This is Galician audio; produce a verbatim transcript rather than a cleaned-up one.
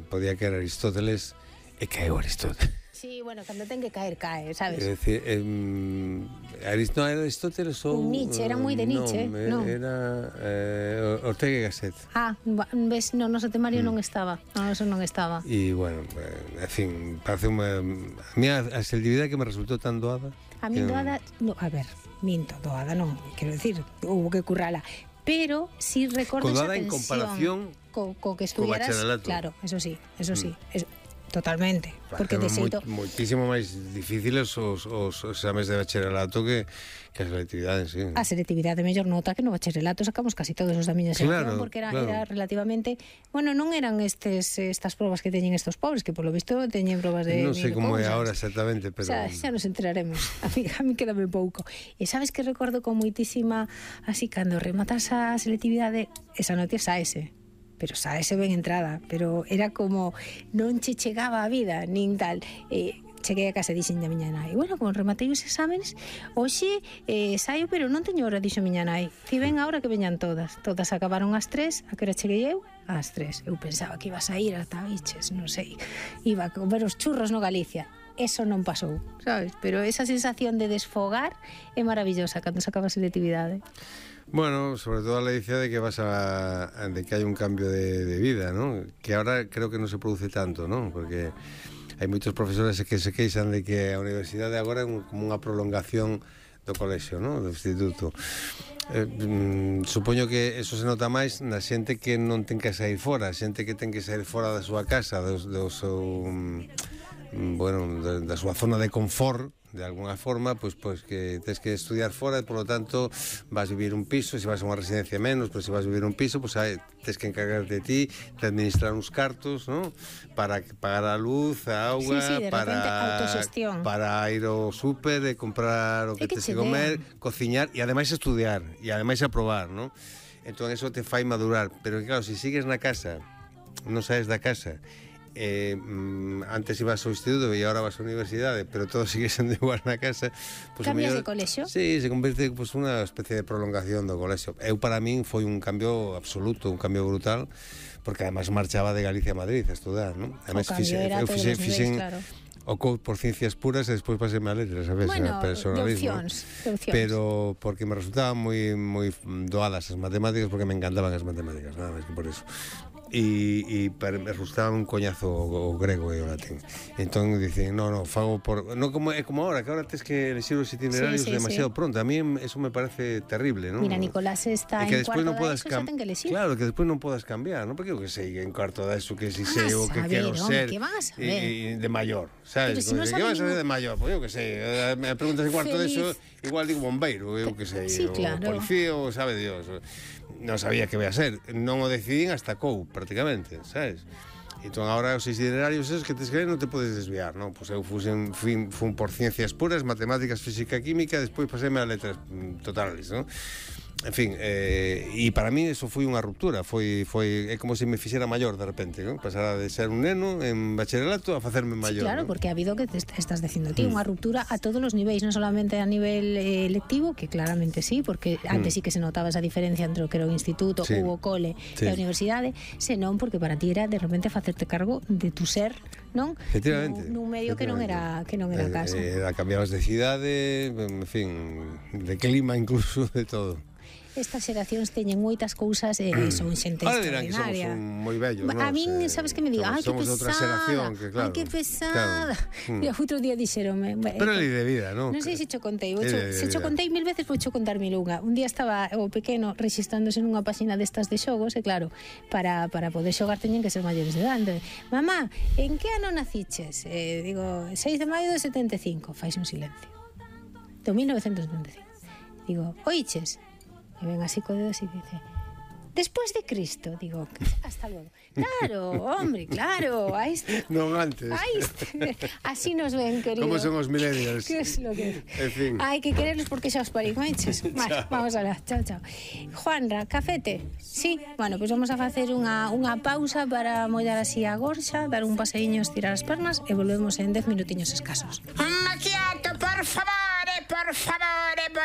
podía caer Aristóteles e caeu Aristóteles. Sí, bueno, cando ten que caer, cae, sabes? É dicir, eh, Arist no, era Aristóteles ou... Un Nietzsche, era moi de Nietzsche, non? non? Era eh, Ortega y Gasset. Ah, ves, no, noso temario Mm. non estaba, no, eso non estaba. E, bueno, eh, en fin, parece unha... A mí a, a selectividade que me resultou tan doada... A mí que- doada, no, a ver, minto, doada non, quero decir, hubo que currala, pero si recordo esa Doada en tensión comparación co, co que estudiaras, bacharelato. claro, eso sí, eso sí, Mm. eso, totalmente, porque de xeito... moi, moitísimo máis difíciles os, os, os exames de bacharelato que, que a selectividade en sí. A selectividade mellor nota que no bacharelato sacamos casi todos os da miña sección, Claro, porque era, claro. era relativamente, bueno, non eran estes estas probas que teñen estos pobres, que polo visto teñen probas de Non sei mil como é cousas. agora exactamente, pero... Xa, xa nos enteraremos. A mí, a mí quédame pouco. E sabes que recordo con moitísima, así, cando rematas a selectividade, esa nota saese. Pero saese ben entrada. Pero era como, non che chegaba a vida, nin tal. E cheguei a casa e dixen a miña nai, bueno, como rematei os exámenes, hoxe eh, saio, pero non teño hora, dixo miña nai. Ti ven a hora que veñan todas. Todas acabaron ás tres, a que hora cheguei eu? Ás tres. Eu pensaba que iba a sair ata biches, non sei. Iba a comer os churros no Galicia. Eso non pasou, sabes? Pero esa sensación de desfogar é maravillosa cando se acaba a selectividade. Bueno, sobre todo a ledicia de que vas a, a de que hai un cambio de, de vida, ¿no? Que ahora creo que non se produce tanto, ¿no? Porque hai moitos profesores que se queixan de que a universidade agora é un, como unha prolongación do colexio, ¿no? Do instituto. Eh, mm, supoño que eso se nota máis na xente que non ten que sair fora, xente que ten que sair fora da súa casa, do, do seu, mm, bueno, da, da súa zona de confort, de alguna forma, pois pues, pues, que tens que estudiar fora e, por lo tanto, vas vivir un piso, se vas a unha residencia menos, pero se vas vivir un piso, pois pues, tens que encargar de ti, de administrar uns cartos, ¿no? Para pagar a luz, a auga, sí, sí, de para, repente, autoxestión. para ir ao súper e comprar o que, que tens che que comer, den. cociñar e ademais estudiar, e ademais aprobar, ¿no? Entón, eso te fai madurar, pero claro, se si sigues na casa, non saes da casa, Eh, antes ibas ao instituto e agora vas á universidade, pero todo sigue sendo igual na casa, pues, Cambias mellor, de colexio? Sí, se converte pues, unha especie de prolongación do colexio. Eu, para min, foi un cambio absoluto, un cambio brutal, porque además marchaba de Galicia a Madrid a estudar, ¿no? Además, O cambio era a todos os niveis, claro. O co por ciencias puras e despois pasei a letras, sabes, bueno, a personalismo. de opcións, de opcións. Pero porque me resultaban moi moi doadas as matemáticas, porque me encantaban as matemáticas, nada máis que por eso. E, e me resultaba un coñazo o, o grego e o latín. Entón dicen, no, no, fago por... No como, é como ahora, que ahora tens que elegir os itinerarios sí, sí, demasiado sí. pronto. A mí eso me parece terrible, ¿no? Mira, Nicolás está e que en despois cuarto non da podas ESO, xa ten que elegir. Claro, que despois non podas cambiar, ¿no? Porque eu que sei, en cuarto da ESO, que si sei o que saber, quero home, ser que van a saber? e, e de maior, sabes? Pero si non que sabe vas a ser ningún- de maior? Pois eu que sei, eh, me preguntas en cuarto de ESO, Feliz. igual digo bombeiro, eu que sei, Sí, o claro. policía, o sabe Dios. Non sabía que vai a ser, non o decidín hasta cou, prácticamente, sabes? Entón, agora os itinerarios esos que te escriben non te podes desviar, non? Pois eu fusen, fui, fun por ciencias puras, matemáticas, física, química, despois paséme a letras mm, totales, non? En fin, eh, e para mí eso foi unha ruptura, foi, foi é como se me fixera maior de repente, non? Pasara de ser un neno en bacharelato a facerme maior. Sí, claro, ¿no? porque ha habido que te est- estás dicindo ti, unha ruptura a todos os niveis, non solamente a nivel eh, lectivo, que claramente sí, porque antes sí que se notaba esa diferencia entre o que era o instituto Sí. ou o cole Sí. e a universidade, senón porque para ti era de repente facerte cargo de tu ser, non? Efectivamente. Nun, nun medio que non era que non era Eh, casa. eh, cambiabas de cidade, en fin, de clima incluso, de todo. Estas xeracións teñen moitas cousas e eh, son xente Ahora dirán que somos extraordinaria. un moi vellos, A non? min, Se- sabes que me diga, ai, somos- que somos de outra pesada, xeración, que claro, ai, que pesada. claro. Mm. Mira, outro día dixeronme, Pero é lei de vida, non? non sei se cho contei, É cho, lei de se cho vida. contei mil veces, vou cho contar mil unha. Un día estaba o pequeno registrándose nunha páxina destas de xogos, e claro, para, para poder xogar teñen que ser maiores de edade. Mamá, en que ano naciches? Eh, digo, seis de maio de setenta e cinco. Fais un silencio. Do mil novecentos setenta e cinco. Digo, oiches? E ven así co dedo así que dice, después de Cristo. Digo, hasta luego. Claro, hombre, claro. Ahí está. Non antes. Ahí está. Así nos ven, querido. Como son os millennials? ¿Qué es lo que...? En fin. Hay que quererlos porque xa os parí, manches. Vale, vamos a la. Chao, chao. Juanra, cafete? Sí. Bueno, pues vamos a facer unha, unha pausa para mollar así a gorxa, dar un paseíño, estirar as pernas e volvemos en dez minutiños escasos. Un macchiato, por favore, por favore, por